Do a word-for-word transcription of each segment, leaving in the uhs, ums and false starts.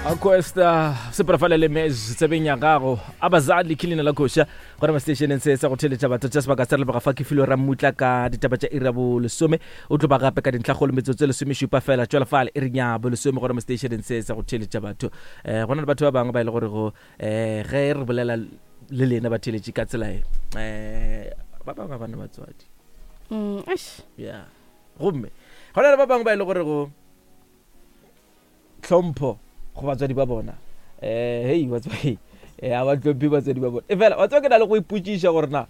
Aquesta sepela le mes tsebeng ya gago abazali ke leina la koša gona mo stationeng se sa go theletša batho tša sebaka sa re leboga fa ke filo rammutla ka ditaba tša iri ya bolesome o tlo ba gape ka dintlhakgolo metsotso e lesomešupa fela tšwela fale e reng ya bolesome gona mo stationeng se sa go theletša batho um gona le batho ba bangwe ba e le gorego um ge re bolela le lena ba theletše ka tsela e um ba bangwe ba bana batswadi Mm, eish. Ya gomme gona le ba bangwe ba e le gorego tlhompho go batswadi ba bona um hei batswadi a ba tlhomphe batswadi ba bona e fela wa tseba ke na le go ipotšiša gore na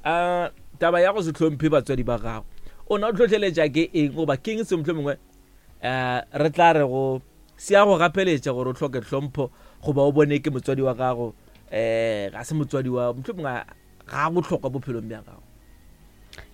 um taba ya go se tlhomphe batswadi ba gago o na o tlhotlheletša ke eng goba ke eng se motlho mongwe um re tla re go se ya go gapeletša gore o tlhoke tlhompho goba o bone ke motswadi wa gago um ga se motswadi wa motlho mongwe ga a botlhokwa bophelong bja gago.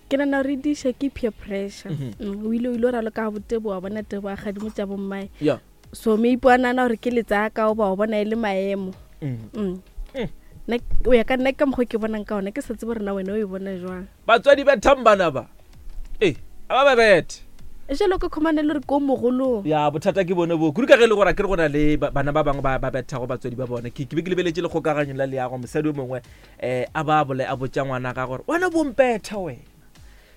Ke nana re diša ke peer pressure. Mhm. Mm, o ile o ile o raloka ga botebo wa bona tebo a kgadimo tša bommae, ya so maybe a nana gore ke letsaka goba o bona e le maemo. Mhm. Mm. Mm. Nna o ya ka nna ka mokgwa ke bonang ka ona, ke sa tsebe gore na wena o e bona jwang. Batswadi ba thambana ba ee a ba ba bethe. Jalo ka khumane le gore ko mogolong. Ya bothata ke bone bo kudu ka ge e le gore a ke re go na le ba- bana ba bangwe ba ba bethago batswadi ba bone. ke ke be ke lebeletše lekgokaganyo la leago, mosadi o mongwe um a ba bole a botša ngwana ga gore wena bompetha wena.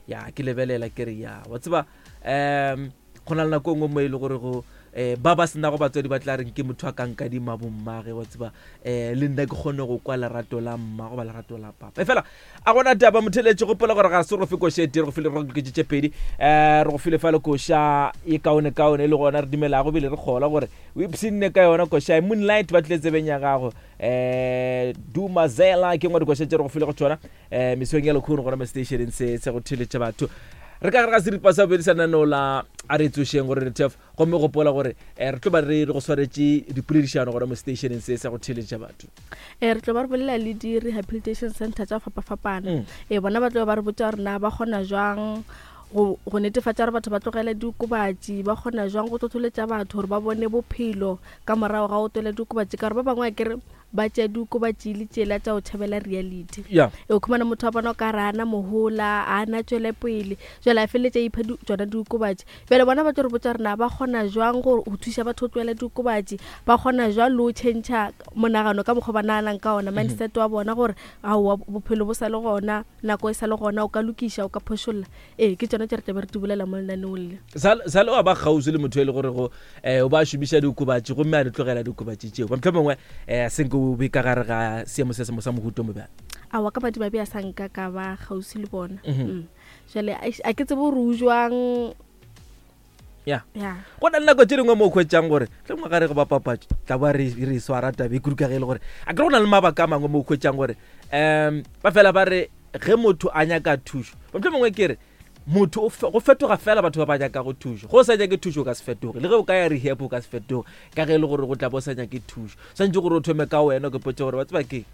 Ya ke lebelela ke re ya wa tseba um go na le nako e nngwe mo e le gore go um ba ba senago batswadi ba tla reng ke motho a ka nkadima bommage wa tseba um le nna ke kgone go kwa lerato la mma goba lerato la papa. E fela a gona taba motheletše, gopola gore ga se re go fe koša e tee, re go file re go tše pedi um re go file fa le koša e kaone kaone e le gona re dumelago ebile re kgola gore o ipshinne ka yona koša e Moonlight ba tlile tsebeng ya gago um Dumazela ke ngwe dikoša tše re go file go tšona um mesong ya lekgono gona mo stationeng se se go theletša batho. Re ka gare ga seripa sa bobedi sa lenaneo la A Re Tsošeng gore re tef gomme gopola gore um re tlo ba re re go swaretše dipoledišano gona mo stationeng se sa go theletša batho. um re tlo ba re bolela le di-rehabilitation center tša go fapafapana. Mm. Ee, bona ba tlo ba re botsa gore na ba kgona jwang go go netefatša gore batho ba tlogele diokobatši, ba kgona jwang go tlotloletša batho gore ba bone bophelo ka morago ga go twela diokobatši, ka gore ba bangwe a kere ba tšea diokobatši le tsela tša go tšhabela reality. Ya e o khumana motho wa bona o ka re a na mohola, a na tšwele pele, jale a feleletša ipha di- tšona diokobatši. Bjale bona ba tlo re botsa gore na ba kgona jwang go go thuša batho go tlohela diokobatši, ba kgona jwang le go change monagano ka mokgwa ba naganang ka ona, mindset wa bona, gore aowa bophelo bo sa le gona, nako e sa le gona, o ka lokiša, o ka phošolla. Ee, ke tšona tše re tlabe re di bolela mo lenaneong le. Sa le wa ba kgauswi le motho e le gore go um o ba šomiša diokobatši gomme a di tlogela diokobatši tšeo, motlho mongwe um senke o be ka gare ga seemo se sengwe sa mohuto mo bjang? Aowa, ka madimabe a sa nka ka ba kgauswi le bona. Mhm. Mm. Jale eish, a ke tsebe gore o jwang. Ya. Ya. Go na le nako tše dingwe mo o kgwetšang gore tle mongwe ga re go bapapatso tla ba re re swara tabe e kudu ka ge e le gore a ke re go na le mabaka a mangwe mo o kgwetšang gore um ba fela ba re ge motho a nyaka thušo, motlho mongwe ke re motho o fe- go fetoga fela batho ba ba nyakago thušo. Go o sa nyake thušo o ka se fetoge, le ge o ka ya rehab o ka se fetoge ka ge e le gore go tla bo o sa nyake thušo. Swantse gore o thome ka wena o ke potse gore wa tseba ke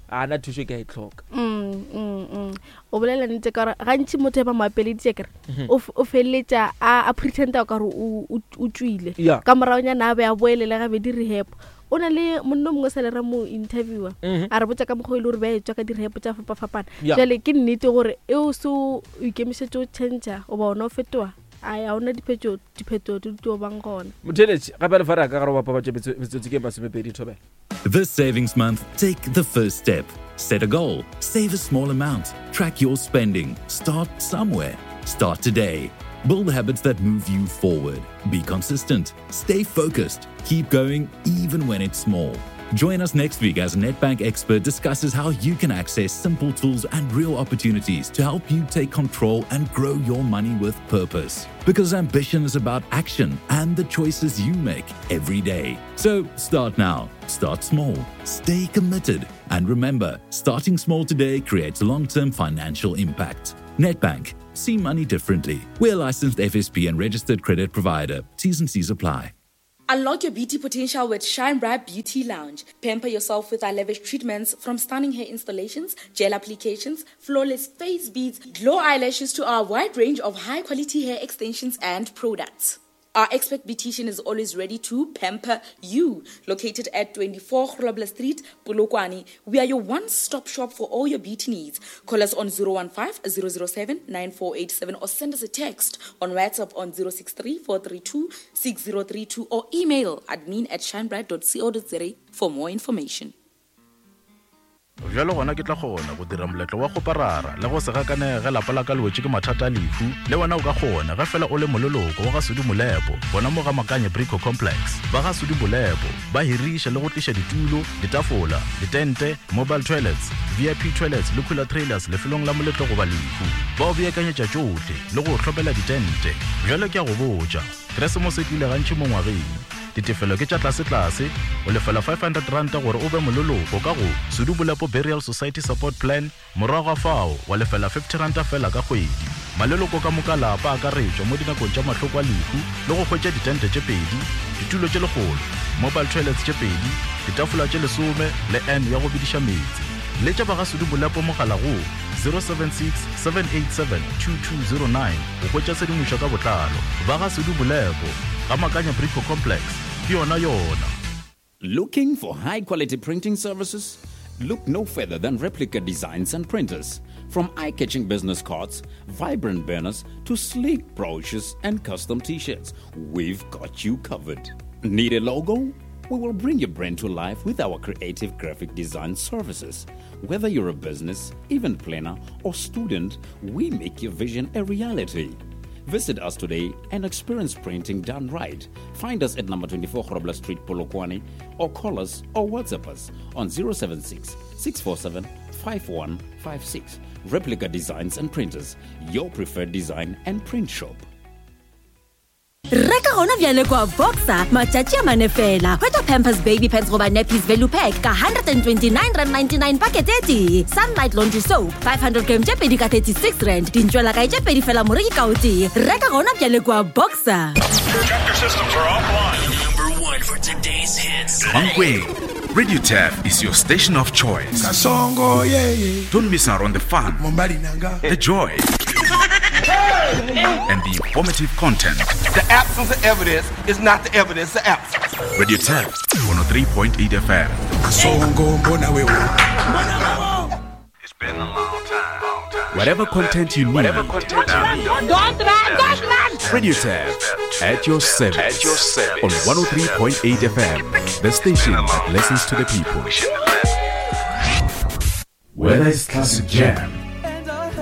a na thušo ke a e tlhoka. Mm, mm, mm. o bolela nnete ka gore gantši motho e ba mo apeleditše kere o f- o feleletša a a pretenda o kare o o- o tswile, Ya. ka moragonyana a be a boelele gabedi rehab. O na le monno mongwe sa le re mo interviewer, Mhm. a re botsa ka mokgwa e le gore ba e tswa ka di-rehab tša fapafapana. Ya. Jale ke nnete gore e o se o ikemišetše o change goba ona o fetoga, ai ga ona diphetho diphetho di tlo bang gona. Motheletše gape le fa re ya ka gare go bapapatso metsotso ke masomepedi thobela. This savings month, take the first step. Set a goal, save a small amount, track your spending, start somewhere. Start today. Build habits that move you forward. Be consistent, stay focused, keep going even when it's small. Join us next week as Nedbank expert discusses how you can access simple tools and real opportunities to help you take control and grow your money with purpose. Because ambition is about action and the choices you make every day. So start now, start small, stay committed, and remember, starting small today creates long term financial impact. Nedbank, see money differently. We're a licensed F S P and registered credit provider. T's and C's apply. Unlock your beauty potential with Shine Bright Beauty Lounge. Pamper yourself with our lavish treatments, from stunning hair installations, gel applications, flawless face beads, glow eyelashes to our wide range of high quality hair extensions and products. Our expert beautician is always ready to pamper you. Located at twenty-four Grobler Street, Polokwane, we are your one-stop shop for all your beauty needs. Call us on zero one five, zero zero seven, nine four eight seven or send us a text on WhatsApp on zero six three, four three two, six zero three two or email admin at shinebright dot co dot za for more information. Bjalo gona ke tla kgona go dira moletlo wa go parara le go se gakanege lapa la ka le wetše ke mathata a lehu. Le wena o ka kgona ge fela o le moleloko wa ga Sudi Molepo gona mo ga Makanye Brico Complex. Ba ga Sudi Molepo ba hiriša le go tliša ditulo, ditafola, ditente, mobile toilets, V I P toilets le cooler trailers lefelong la moletlo goba lehu. Ba o beakanyetša tšohle le go hlopela ditente. Bjalo ke a go botša, Keresemose e tlile gantši mo ngwageng. Ditefelo ke tša tlase-tlase, o lefela five hundred rand gore o be moleloko ka go Sudi Molepo Burial Society Support Plan, morago ga fao wa lefela fifty rand fela ka kgwedi. Maleloko ka moka lapa a akaretšwa mo dinakong tša mahloko a lehu le go hwetša ditente tše pedi, ditulo tše lekgolo, mobile toilets tše pedi, ditafola tše lesome le N ya go bediša meetse. Letša ba ga Sudi Molepo mogala go zero seven six, seven eight seven, two two zero nine go hwetša tshedimošo ka botlalo. Ba ga Sudi Molepo ga Makanya Brico Complex, ke yona yona. Looking for high quality printing services? Look no further than Replica Designs and Printers. From eye-catching business cards, vibrant banners, to sleek brochures and custom t-shirts, we've got you covered. Need a logo? We will bring your brand to life with our creative graphic design services. Whether you're a business, event planner, or student, we make your vision a reality. Visit us today and experience printing done right. Find us at number twenty-four Grobler Street, Polokwane, or call us or WhatsApp us on zero seven six, six four seven, five one five six. Replica Designs and Printers, your preferred design and print shop. Reka gona bjale kwa Boxer matšatši a mane fela. Hwetša Pampers Baby Pants goba Nappies Value Pack ka one hundred twenty-nine rand ninety-nine packet e tee. Sunlight Laundry Soap five hundred gram tše pedi ka thirty-six rand. Dintšwela kae tše pedi fela moreki ka o tee. Reka gona bjale kwa Boxer. Tractor systems are offline. Number one for today's hits. Mankweng, Radio Turf is your station of choice. Kasongo, yeah, yeah. Don't miss out on the fun, the joy, and the informative content. The absence of evidence is not the evidence of absence. Radio Turf, one oh three point eight F M. It's been a long time. Long time. Whatever content you need. Whatever content you need. Don't run, don't run. Radio Turf, at your service. At your service. On one oh three point eight F M, the station that listens to the people. Whether it's classic jams,